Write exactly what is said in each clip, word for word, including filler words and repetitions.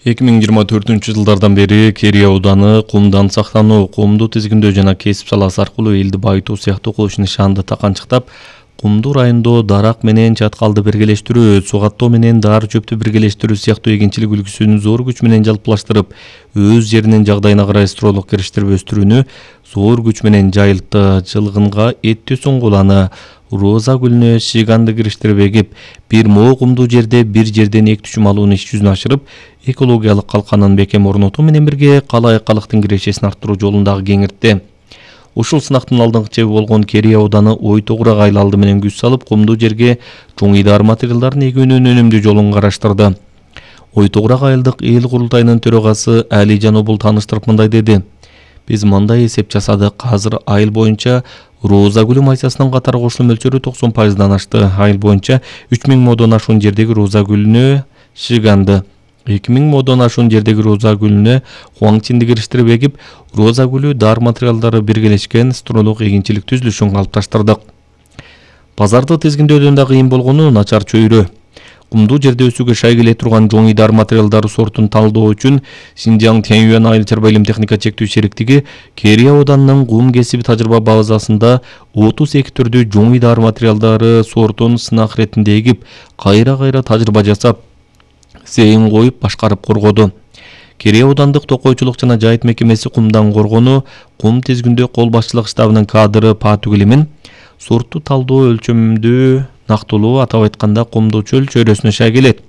эки миң жыйырма төртүнчү жылдардан бери Керей ауданы кумдан сактануу, кумду тизгиндөө жана кесип саласы аркылуу элди байытуу сыяктуу кылыш нишанды таканчыктап, кумду райондо дарак менен чаткалды биргелештирүү, суу каттоо менен дар чөптү биргелештирүү сыяктуу эгинчилик үлгүсүн зор күч менен жалпылаштырып, өз жеринин жагдайына карай строолук кириштирип өстүрүүнү зор күч менен жайылтты. Жылгынга эттүү суңгуланы, роза гүлүнө шиганды кириштирип эгип, бир moo кумдуу жерде бир жерден эки түчүм алуунун иш жүзүнө ашырып, экологиялык калканын бекем орнотуу менен бирге калай калыктын кирешесин арттыруу жолундагы кеңиртти. Ушул сынактын алдыңкы чеби болгон Керей ауданы ой тогурак айыл алды менен күч салып, кумдуу жерге чоңуйдаар материалдарын эгүүнүн өнүмдүү жолун караштырды. Ой тогурак айылдык эл курултайынын төрагасы Алижан Обул тааныштырып мындай деди: "Биз мындай эсеп жасадык. Азыр айыл боюнча роза гүлү майсасынын катары кошулуу мөлчөрү токсон пайыздан ашты. Айыл боюнча үч миң модон ашуун жердеги роза гүлүнө шиганды, эки миң модон ашуун жердеги роза гүлүнө хуаңчинди кириштирип эгип, роза гүлү дар материалдары биргелешкен строолук эгинчилик түзүлүшүн калыпташтырдык. Базарды тизгиндөөдөн да кыйын болгону начар чөйрө. Кумдуу жерде өсүүгө шай келе турган жоңуйдар материалдары сортун талдоо үчүн Синжаң Тяньюань айыл чарба илим техника чектүү шериктиги Керей ауданынын кум кесиби тажрыйба базасында отуз эки түрдүү жоңуйдар материалдары сортун сынак иретинде эгип, кайра-кайра тажрыйба жасап, зейин коюп башкарып коргоду. Керей аудандык токойчулук жана жайыт мекемеси кумдан коргонуу, кум тизгиндөө кол башчылык штабынын кадры Па Түгүлемин сортту талдоо өлчөмдүү нактылуу, атап айтканда кумдуу чөл чөйрөсүнө шай келет.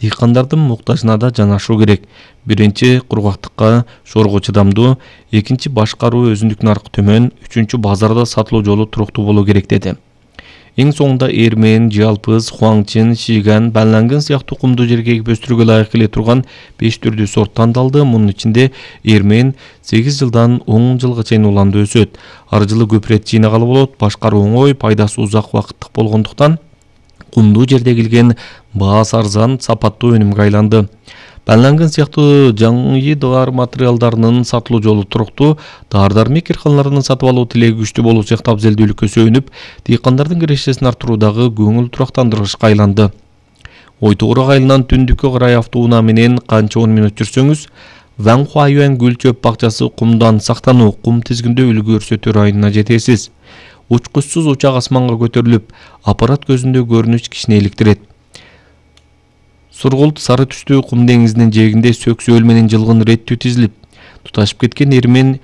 Дыйкандардын муктажына да жанашуу керек. Биринчи кургактыкка, шорго чыдамдуу, экинчи башкаруу өзүндүк наркы төмөн, үчүнчү базарда сатылуу жолу туруктуу болуу керек деди. Эң соңунда эрмен, жалпыз, хуаңчин, шиган, банлангын сыяктуу кумдуу жерге эгип өстүрүүгө ылайык келе турган беш түрдүү сорт тандалды. Мунун ичинде эрмен сегиз жылдан он жылга чейин уланды өсөт. Ар жылы көп ирет жыйнагалы болот, башкаруу оңой, пайдасы узак убакыттык болгондуктан кумдуу жерде эгилген баасы арзан, сапаттуу өнүмгө айланды. Банлангын сыяктуу жаңыйдаар материалдарынын сатылуу жолу туруктуу, дар-дармек кирканаларынын сатып алуу тилеги күчтүү болуу сыяктуу абзелдүүлүккө сөөнүп, дыйкандардын кирешесин арттыруудагы көңүл турактандыргычка айланды. Ой тогурак айылынан түндүккө карай автоунаа менен канча он мүнөт жүрсөңүз, Ванхуайюань гүл чөп бакчасы кумдан сактануу, кум тизгиндөө үлгү көрсөтүү районуна жетесиз. Учкучсуз учак асманга көтөрүлүп, аппарат көзүндө көрүнүш кишини иликтирет. Сургулт сары түстүү кум деңизинин жээгинде сөксөөл менен жылгын иреттүү тизилип, туташып кеткен эрмен